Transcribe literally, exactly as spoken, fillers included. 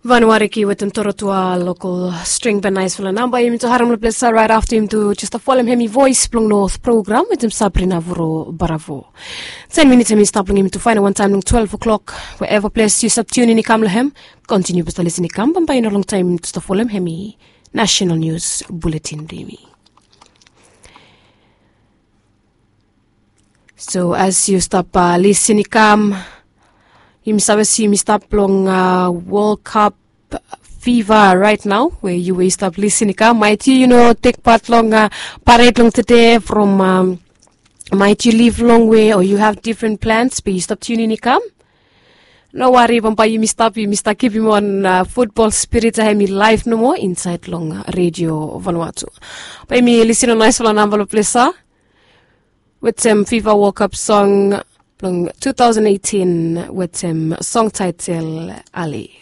Vanuariki wetem torotua lokol string ben nais fala namba yumi tu harim long ples rait afta yumi tu just a folem hemi voice blong north program wetem sabrina vuro baravo. Ten minit hemi stap long yumi tu faina wan taim long twelve o'clock. Wherever ples yu stap tunin i kam long hem, kontiniu basta lisin i kam bambae i no long taim yumi tu stap folem hemi national news bulletin blong yumi. So as yu stap lisin i kam, yumi save si yumi stap long world cup fiva rait nao we yu we yu stap lisin i kam maiti yu no tek pat long paret long tede from maiti yu liv long we o yu have different plans be yu stap tunin i kam. No wari bambae yumi stap yumi stap kipim on futbol spirit a hemi laif nomo insait long redio vanuatu. Bae yumi lisin long naispela namba long plesa wetem fifa world cup song blong two thousand eighteen wetem song taitel ali.